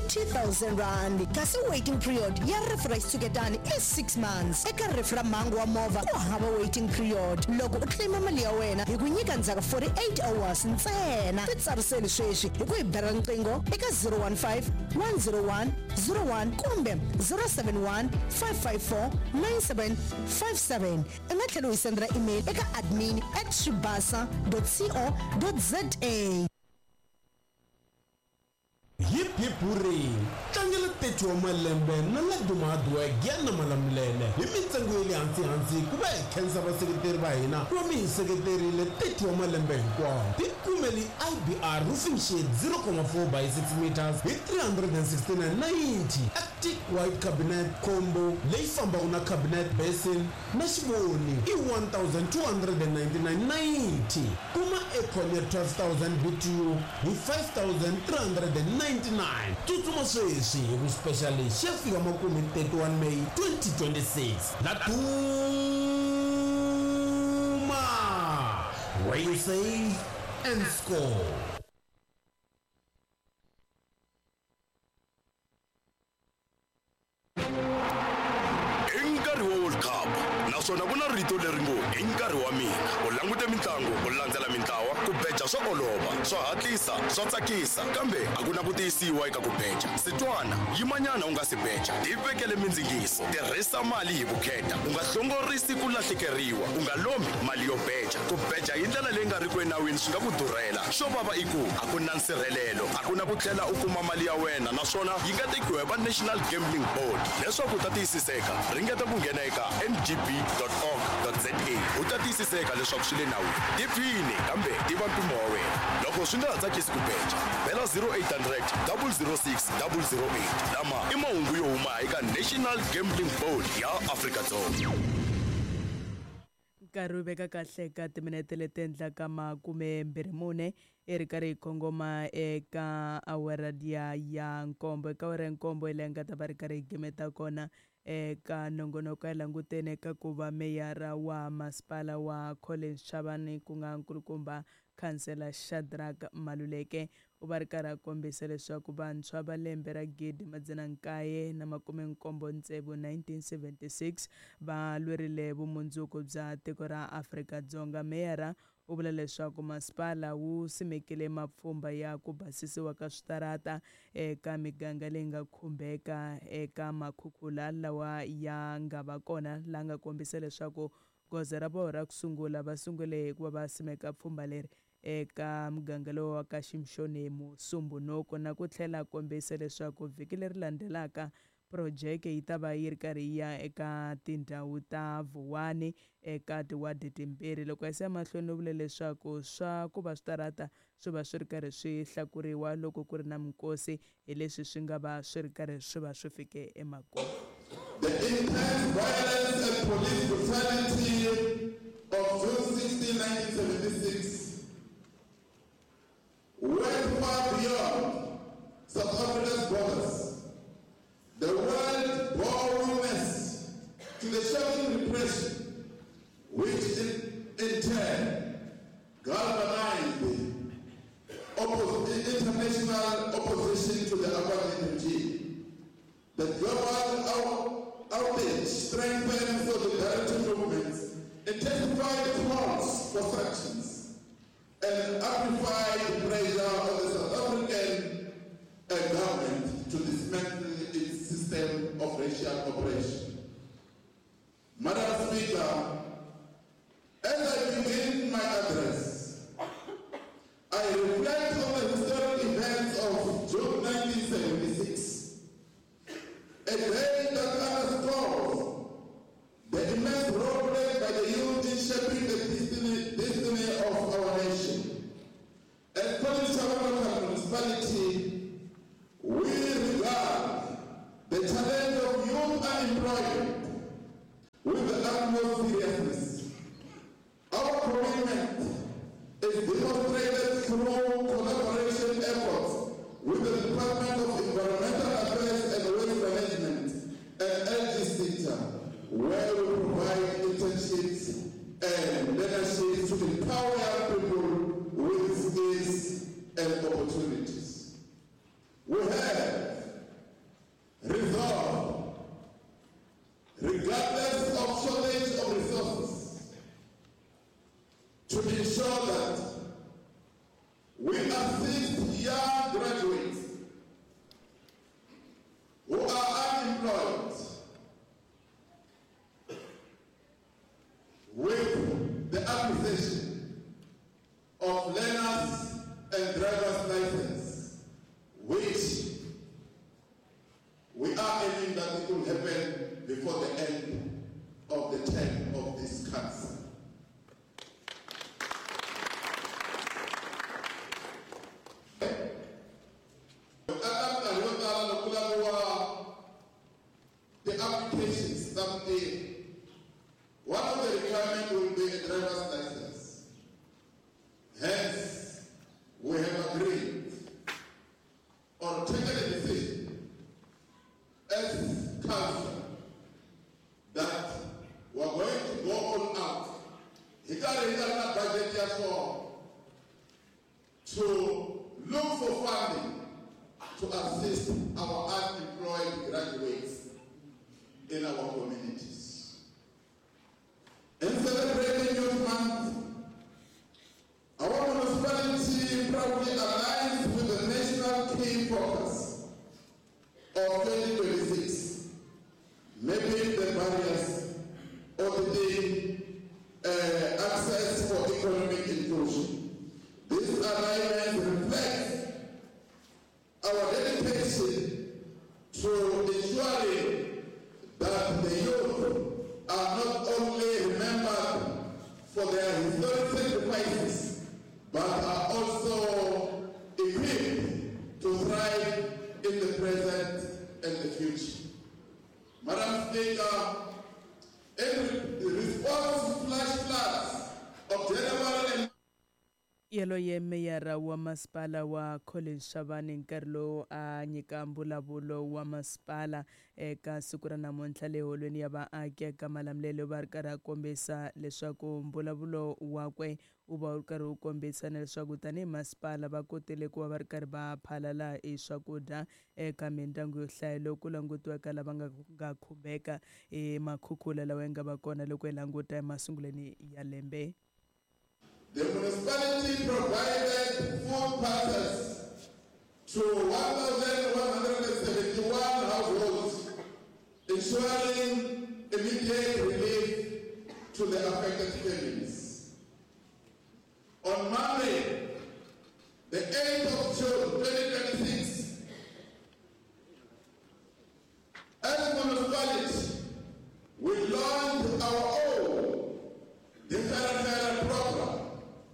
R30 000, kasi waiting period ya rifu ra xitshuketani i 6 months. Eka rifu ra mhangu wa movha ku hava waiting period. Loko u claim mali ya wena hi ku nyika ndzhaku 48 hours ntsena. Titsariseli sweswi hi ku hi bela riqingho eka 015 101 01 kumbe 071 554 9757. U nga tlhela u hi sendela email eka admin at swibasa co za. Hip hip hurray! Tlangela 30 wa malembe na Laduma Hardware Giyani na Malamulele hi mintsengo ya le hansi hansi ku va hi khensa vaseketeri va hina ku va mi hi seketerile 30 wa malembe hinkwawo. Tikumeli IBR roofing sheet 0,4 by 6 meters hi 369.90, Arctic White Cabinet Combo leyi fambaka na cabinet basin na xivoni i 1299.90. Kuma aircon ya 12000 BTU hi 5399. Tsutsuma sweswi hi ku special lexi xi ya fika makumu hi 31 May 2026. La Duma, where you save and score. I nkarhi wa World Cup naswona ku na rito leri ngo i nkarhi wa mina. U langute mitlangu, u landzela mintlawa, ku beja swa olova, swa hatlisa, swa tsakisa, kambe a ku na ku tiyisiwa eka ku beja. Sitwana, yimanyana u nga si beja, tivekele mindzingiso, tirhisa mali hi vukheta, u nga hlongorisi ku lahlekeriwa, u nga lombi mali yo beja. Ku beja hi ndlela leyi nga riki enawini swi nga ku durhela. Xo vava i ku a ku na nsirhelelo, a ku na ku tlhela u kuma mali ya wena naswona yi nga tekiwa hi va National Gambling Board. Leswaku u ta tiyisiseka, ringeta ku nghena eka ngb.org.za u ta tiyisiseka leswaku swi le nawini. Tiphine kambe tiva mpimo wa wena. Loko swi nga ha tsakisi ku beja, bela 0800 006 008. Lama i mahungu yo huma eka National Gambling Board ya Afrika-Dzonga. Nkarhi wu veka kahle ka timinete leti endlaka 24 i ri karhi hi kongoma eka awara liya ya nkombo. Eka awara ya nkombo hi leyi nga ta va ri karhi hi gimeta kona eka nongonoko. Ya langutene eka ku va meyara wa masipala wa Collins Chabane, ku nga nkulukumba khansela Shadrack Maluleke, u va ri karhi a kombisa leswaku vantshwa va lembe ra 1976 1976 va lwerile vumundzuku bya tiko ra Afrika-Dzonga. Meyara u vula leswaku masipala wu simekile mapfhumba ya ku basisiwa ka switarata eka miganga leyi nga khumbeka eka makhukhula lawa ya nga va kona, la nga kombisa leswaku goza ra vona ra ku sungula va sungule hi ku va va simeka pfhumba leri eka muganga lowu wa ka Shimshoni Musumbhunuku, na ku tlhela kombisa leswaku vhiki leri landzelaka projeke yi ta va yi ri karhi yi ya eka tindhawu ta Vuwani eka tiwadi timbirhi. Loko a siya mahlweni u vule leswaku swa ku va switarata swi va swi ri karhi swi hlakuriwa loko ku ri na minkosi hi leswi swi nga va swi ri karhi swi va swi fike emakumu. The intense violence and police brutality of June 16, 1976 went far beyond South Africa's borders. The world bore witness to the shocking repression, which in turn galvanized international opposition to the apartheid regime. The global outrage strengthened solidarity movements, intensified calls for sanctions, and amplified pressure on the South African government to dismantle its system of racial oppression. Madam Speaker, as I begin my address, I reflect on the historic events of June 1976, a day that underscores the immense role played by the youth in shaping the destiny of our nation. As Collins Chabane Local Municipality, we as council that we are going to go all out hi karhi hi nga ri na budget ya swona to look for funding to assist our unemployed graduates in our communities. In celebrating Youth Month, our municipality proudly aligns with the national key focus of 2026, mapping the barriers, auditing access for economic inclusion. This alignment reflects our dedication to ensuring that the youth are not only remembered for their historic sacrifices, but are also equipped to thrive in the present and the future. Madam Speaker, in response to flash floods of January and Yaloye meyara wa masipala wa Collins Chabane nkarhi lowu a nyika mbulavulo wa masipala eka siku ra namuntlha le holweni ya vaaki eka Malamulele va ri karhi a kombisa leswaku mbulavulo wakwe wu va wu ri karhi wu kombisa na leswaku tanihi masipala va kotile ku va va ri karhi va phalala hi swakudya eka mindyangu yo hlaya loko ku langutiwaka lava nga nga khumbeka hi makhukhula lawa ya nga va kona loko hi languta emasungulweni ya lembe. The municipality provided food parcels to 1,171 households, ensuring immediate relief to the affected families.